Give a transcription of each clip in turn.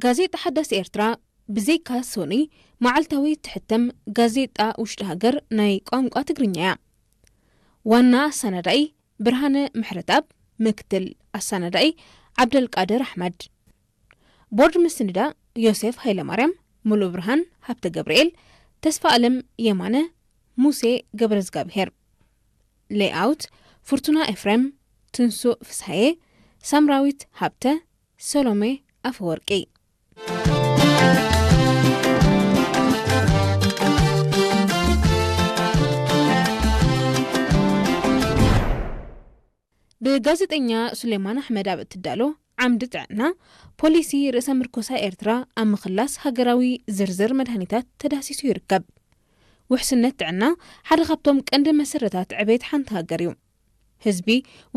ጋዜጣ ሓዳስ ኤርትራ ብዘይካ ሶኒ መዓልታዊ እትሕተም ጋዜጣ ውሽጢ ሃገር ናይ ቋንቋ ትግርኛ እያ። ዋና ኣሰናዳኢ ብርሃነ ምሕረትኣብ፣ ምክትል ኣሰናዳኢ ዓብደልቃድር ኣሕመድ። ቦርድ ምስንዳ ዮሴፍ ሃይለማርያም፣ ሙሉእ ብርሃን ሃብተ ገብርኤል፣ ተስፋ ኣለም የማነ፣ ሙሴ ገብረዝጋብሄር። ሌይኣውት ፍርቱና ኤፍሬም፣ ትንሱእ ፍስሃየ፣ ሳምራዊት ሃብተ፣ ሰሎሜ ኣፈወርቂ። ብጋዜጠኛ ሱሌማን ኣሕመድ ኣብ እትዳሎ ዓምዲ ጥዕና፣ ፖሊሲ ርእሰ ምርኮሳ ኤርትራ ኣብ ምኽላስ ሃገራዊ ዝርዝር መድሃኒታት ተዳህሲሱ ይርከብ። ውሕስነት ጥዕና ሓደ ካብቶም ቀንዲ መሰረታት ዕቤት ሓንቲ ሃገር እዩ። ህዝቢ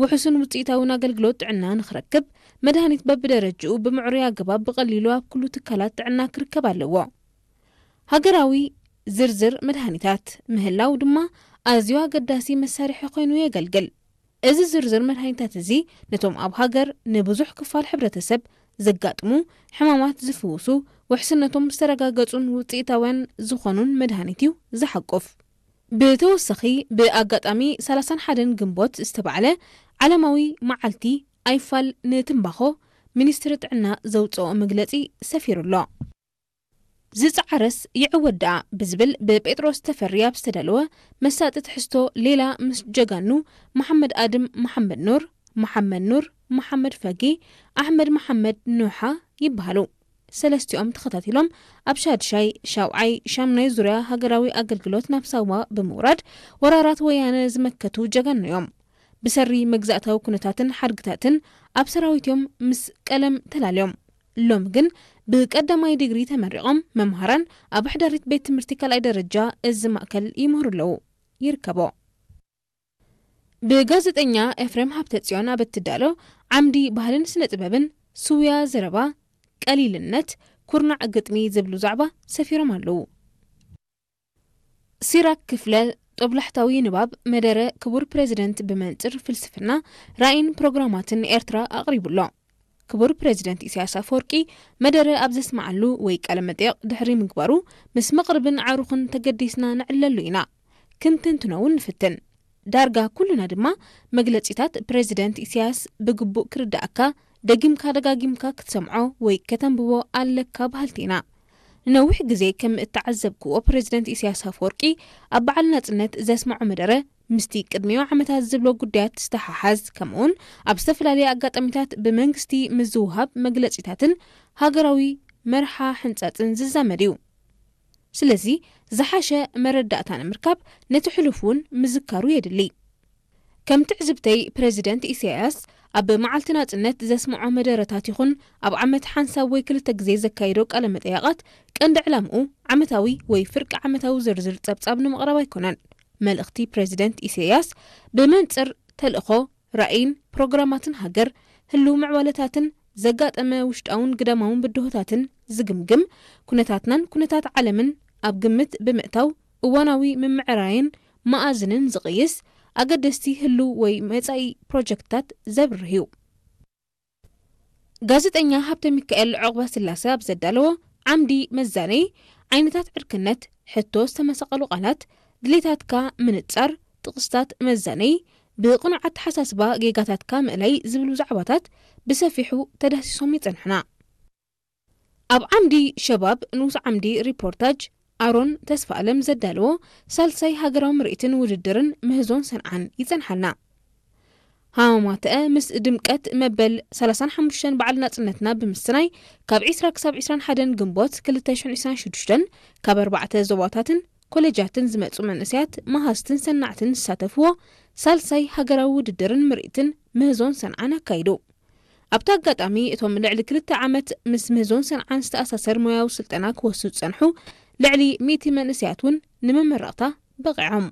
ውሑስን ውጽኢታውን ኣገልግሎት ጥዕና ንኽረክብ፣ መድሃኒት በብደረጅኡ ብምዕሩይ ኣገባብ ብቐሊሉ ኣብ ኩሉ ትካላት ጥዕና ክርከብ ኣለዎ። ሃገራዊ ዝርዝር መድሃኒታት ምህላው ድማ ኣዝዩ ኣገዳሲ መሳርሒ ኮይኑ የገልግል። እዚ ዝርዝር መድሃኒታት እዚ ነቶም ኣብ ሃገር ንብዙሕ ክፋል ሕብረተሰብ ዘጋጥሙ ሕማማት ዝፍውሱ፣ ውሕስነቶም ዝተረጋገጹን ውጽኢታውያን ዝኾኑን መድሃኒት እዩ ዝሓቁፍ። ብተወሳኺ፣ ብኣጋጣሚ ሰላሳን ሓደን ግንቦት ዝተባዕለ ዓለማዊ መዓልቲ ኣይፋል ንትምባኾ፣ ሚኒስትሪ ጥዕና ዘውጽኦ መግለጺ ሰፊሩ ኣሎ። ዝጸዓረስ ይዕወት ደኣ ብዝብል ብጴጥሮስ ተፈሪ ኣብ ዝተዳለወ መሳጢ ትሕዝቶ፣ ሌላ ምስ ጀጋኑ መሓመድ ኣድም መሓመድ ኑር፣ መሓመድ ኑር መሓመድ ፈጊ፣ ኣሕመድ መሓመድ ኖሓ ይበሃሉ። ሰለስቲኦም ተኸታቲሎም ኣብ ሻድሻይ፣ ሻውዓይ፣ ሻምናይ ዙርያ ሃገራዊ ኣገልግሎት ናብ ሳዋ ብምውራድ፣ ወራራት ወያነ ዝመከቱ ጀጋኑ እዮም። ብሰሪ መግዛእታዊ ኩነታትን ሓድግታትን ኣብ ሰራዊት እዮም ምስ ቀለም ተላልዮም። ሎም ግን ብቀዳማይ ዲግሪ ተመሪቖም መምሃራን ኣብ ኣሕዳሪት ቤት ትምህርቲ ካልኣይ ደረጃ እዚ ማእከል ይምህሩ ኣለዉ። ይርከቦ። ብጋዜጠኛ ኤፍሬም ሃብተጽዮን ኣብ እትዳሎ ዓምዲ ባህልን ስነ ጥበብን፣ ስውያ ዘረባ፣ ቀሊልነት፣ ኩርናዕ ግጥሚ ዝብሉ ዛዕባ ሰፊሮም ኣለዉ። ሲራክ ክፍለ ጦብላሕታዊ ንባብ መደረ ክቡር ፕሬዚደንት ብመንጽር ፍልስፍና፣ ራእይን ፕሮግራማትን ኤርትራ ኣቕሪቡ ኣሎ። ክቡር ፕሬዚደንት ኢሳያስ ኣፈወርቂ መደረ ኣብ ዘስምዓሉ ወይ ቃለ መጠይቕ ድሕሪ ምግባሩ፣ ምስ መቕርብን ዓሩኽን ተገዲስና ንዕለሉ ኢና። ክንትንትኖ እውን ንፍትን። ዳርጋ ኩልና ድማ መግለጺታት ፕሬዚደንት ኢሳያስ ብግቡእ ክርድኣካ፣ ደጊምካ ደጋጊምካ ክትሰምዖ ወይ ከተንብቦ ኣለካ በሃልቲ ኢና። ንነዊሕ ግዜ ከም እተዓዘብክዎ፣ ፕሬዚደንት ኢሳያስ ኣፈወርቂ ኣብ በዓል ናጽነት ዘስምዖ መደረ፣ ምስቲ ቅድሚኡ ዓመታት ዝብሎ ጉዳያት ዝተሓሓዝ፣ ከምኡውን ኣብ ዝተፈላለየ ኣጋጣሚታት ብመንግስቲ ምስ ዝውሃብ መግለጺታትን ሃገራዊ መርሓ ሕንጻጽን ዝዛመድ እዩ። ስለዚ፣ ዝሓሸ መረዳእታ ንምርካብ ነቲ ሕሉፍ እውን ምዝካሩ የድሊ። ከም ትዕዝብተይ፣ ፕሬዚደንት ኢሳያስ ኣብ መዓልቲ ናጽነት ዘስምዖ መደረታት ይኹን ኣብ ዓመት ሓንሳብ ወይ ክልተ ግዜ ዘካይዶ ቃለ መጠይቓት፣ ቀንዲ ዕላምኡ ዓመታዊ ወይ ፍርቂ ዓመታዊ ዝርዝር ጸብጻብ ንምቕራብ ኣይኮነን። መልእኽቲ ፕሬዚደንት ኢሳያስ ብመንጽር ተልእኾ፣ ራእይን ፕሮግራማትን ሃገር፣ ህሉው ምዕባለታትን ዘጋጠመ ውሽጣውን ግዳማውን ብድሆታትን ዝግምግም፣ ኩነታትናን ኩነታት ዓለምን ኣብ ግምት ብምእታው እዋናዊ ምምዕራይን መኣዝንን ዝቕይስ፣ ኣገደስቲ ህሉው ወይ መጻኢ ፕሮጀክትታት ዘብርህ እዩ። ጋዜጠኛ ሃብተ ሚካኤል ዑቕባስላሰ ኣብ ዘዳለዎ ዓምዲ መዛነዪ፣ ዓይነታት ዕርክነት፣ ሕቶ ዝተመሰቐሉ ቃላት፣ ድሌታትካ ምንጻር፣ ጥቕስታት መዛነዪ፣ ብቕኑዕ ኣተሓሳስባ ጌጋታትካ ምእላይ ዝብሉ ዛዕባታት ብሰፊሑ ተዳህሲሶም ይጸንሑና። ኣብ ዓምዲ ሸባብ ንኡስ ዓምዲ ሪፖርታጅ ኣሮን ተስፋኣለም ዘዳለዎ ሳልሳይ ሃገራዊ ምርኢትን ውድድርን ምህዞን ሰንዓን ይጸንሓልና። ሃማማተአ ምስ ድምቀት መበል ሰላሳን ሓሙሽተን በዓል ናጽነትና ብምስናይ፣ ካብ ዕስራ ክሳብ ዕስራን ሓደን ግንቦት ክልተ ሽሕን ዕስራን ሽዱሽተን ካብ ኣርባዕተ ዞባታትን ኮሌጃትን ዝመጹ መንእሰያት መሃዝትን ሰናዕትን ዝሳተፍዎ ሳልሳይ ሃገራዊ ውድድርን ምርኢትን ምህዞን ሰንዓን ኣካይዱ። ኣብቲ ኣጋጣሚ፣ እቶም ልዕሊ ክልተ ዓመት ምስ ምህዞን ሰንዓን ዝተኣሳሰር ሞያዊ ስልጠና ክወስዱ ዝጸንሑ ልዕሊ ሚእቲ መንእሰያት እውን ንመመረቕታ በቒዖም።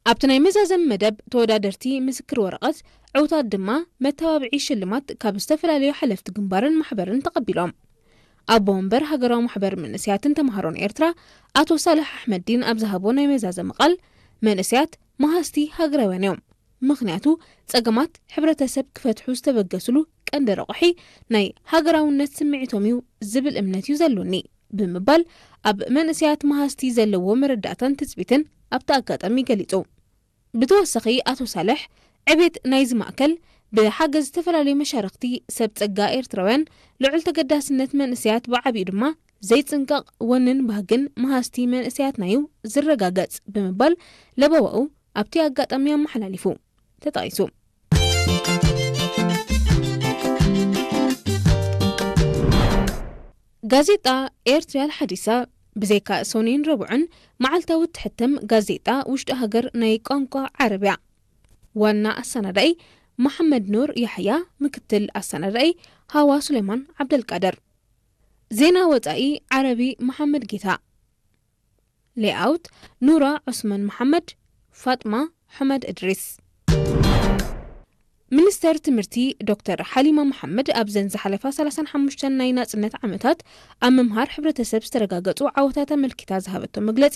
ኣብቲ ናይ መዛዘሚ መደብ፣ ተወዳደርቲ ምስክር ወረቐት፣ ዕውታት ድማ መተባብዒ ሽልማት ካብ ዝተፈላለዩ ሓለፍቲ ግንባርን ማሕበርን ተቐቢሎም። ኣቦ ወንበር ሃገራዊ ማሕበር መንእሰያትን ተምሃሮን ኤርትራ፣ ኣቶ ሳልሕ ኣሕመዲን ኣብ ዝሃቦ ናይ መዛዘሚ ቃል፣ መንእሰያት መሃዝቲ ሃገራውያን እዮም። ምኽንያቱ ጸገማት ሕብረተሰብ ክፈትሑ ዝተበገስሉ ቀንዲ ረቑሒ ናይ ሃገራውነት ስምዒቶም እዩ ዝብል እምነት እዩ ዘሎኒ ብምባል ኣብ መንእሰያት መሃዝቲ ዘለዎ መረዳእታን ትጽቢትን ኣብቲ ኣጋጣሚ ገሊጹ። ብተወሳኺ ኣቶ ሳልሕ ዕቤት ናይዚ ማእከል ብሓገዝ ዝተፈላለዩ መሻርኽቲ ሰብ ጸጋ ኤርትራውያን ልዑል ተገዳስነት መንእሰያት ብዓቢኡ ድማ ዘይጽንቀቕ ወንን ባህግን መሃዝቲ መንእሰያትና እዩ ዝረጋገጽ ብምባል ለበዋኡ ኣብቲ ኣጋጣሚ ኣመሓላሊፉ ተጠቒሱ። ጋዜጣ ኤርትሪያል ሓዲሳ ብዘይካ ሰኑይን ረቡዕን መዓልታዊ እትሕተም ጋዜጣ ውሽጢ ሃገር ናይ ቋንቋ ዓረብያ። ዋና ኣሰናዳኢ መሓመድ ኑር ያሕያ፣ ምክትል ኣሰናዳኢ ሃዋ ሱሌማን ዓብደልቃድር። ዜና ወጻኢ ዓረቢ መሓመድ ጌታ። ሌኣውት ኑራ ዑስማን መሓመድ፣ ፋጥማ ሑመድ እድሪስ። ሚኒስተር ትምህርቲ ዶክተር ሓሊማ መሓመድ ኣብዘን ዝሓለፋ ሰላሳን ሓሙሽተን ናይ ናጽነት ዓመታት ኣብ ምምሃር ሕብረተሰብ ዝተረጋገጹ ዓወታት ኣመልኪታ ዝሃበቶ መግለጺ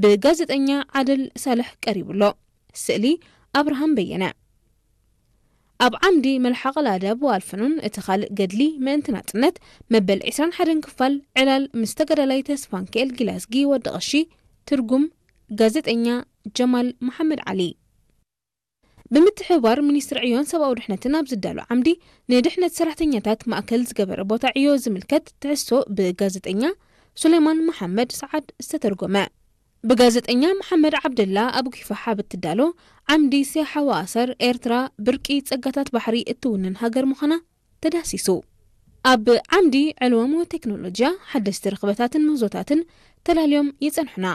ብጋዜጠኛ ዓድል ሳልሕ ቀሪቡ ኣሎ። ስእሊ ኣብርሃም በየነ። ኣብ ዓምዲ መልሓቕ ኣልኣዳብ ወኣልፈኑን እቲ ካልእ ገድሊ ምእንቲ ናጽነት መበል ዕስራን ሓደን ክፋል ዕላል ምስ ተጋዳላይ ተስፋንክኤል ጊላዝጊ ወዲ ቐሺ ትርጉም ጋዜጠኛ ጀማል መሓመድ ዓሊ። ብምትሕብባር ሚኒስትሪ ዕዮን ሰብኣዊ ድሕነትን ኣብ ዝዳሎ ዓምዲ ንድሕነት ሰራሕተኛታት ማእከል ዝገበረ ቦታ ዕዮ ዝምልከት ትሕዝቶ ብጋዜጠኛ ሱሌማን መሓመድ ሰዓድ ዝተተርጎመ። ብጋዜጠኛ መሓመድ ዓብደላ ኣብ ጊፋሓ ብትዳሎ ዓምዲ ሲያሓ ወኣሰር ኤርትራ ብርቂ ጸጋታት ባሕሪ እትውንን ሃገር ምዃና ተዳህሲሱ። ኣብ ዓምዲ ዕልወም ወቴክኖሎጂያ ሓደስቲ ርኽበታትን ምህዞታትን ተላልዮም ይጸንሑና።